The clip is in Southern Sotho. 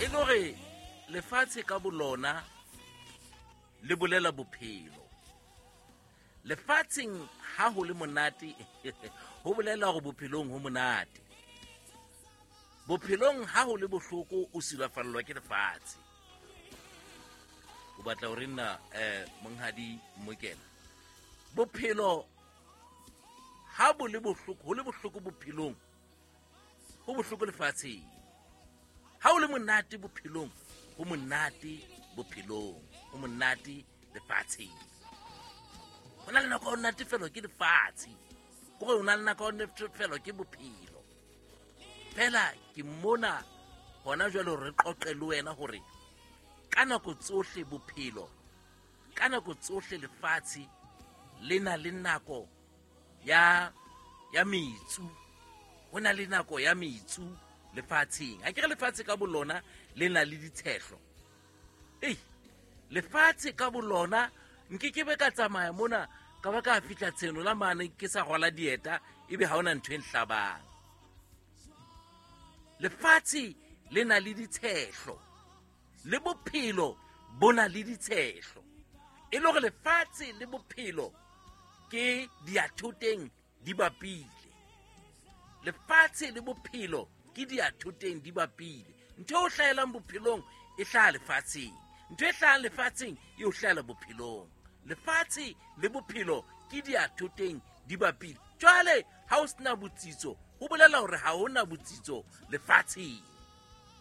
E le hore lefatshe ka bolona le bolela bophelo. Lefatsheng ha ho le monate ho bolela hore bophelong ho monate. Bophelong ha ho le bohloko o silafallwa ke lefatshe. O batla hore nna monghadi Mokela, bophelo ha bo le bohloko, ho le bohloko bophelong, ho bohloko lefatsheng. Ha o le monate bophelong, ho monate bophelong, ho monate lefatsheng. Ho na le nako ya ho natefelwa ke lefatshe, ke gore o na le nako ya ho natefelwa ke bophelo. Fela ke mona hona jwale re qoqe le wena hore ka nako tsohle bophelo, ka nako tsohle lefatshe le na le nako ya metsu. Ho na le nako ya metsu lefatsheng. Ha ke re lefatshe ka bolona le na le ditshehlo. Ei, lefatshe ka bolona nke ke be ka tsamaya mona ka ba ka fihla tsheno la mane ke sa rwala dieta, ebe ha hona ntho e nhlabang. Lefatshe le na le ditshehlo, le bophelo bo na le ditshehlo. E le hore lefatshe le bophelo ke diathoteng di bapile. Lefatshe le bophelo ke diathoteng di bapile. Ntho e o hlahelang bophelong e hlaha lefatsheng, ntho e hlahang lefatsheng e o hlahela bophelong. Lefatshe le bophelo ke diathoteng di bapile. Jwale ha o sena botsitso, ho bolela hore ha hona botsitso lefatsheng.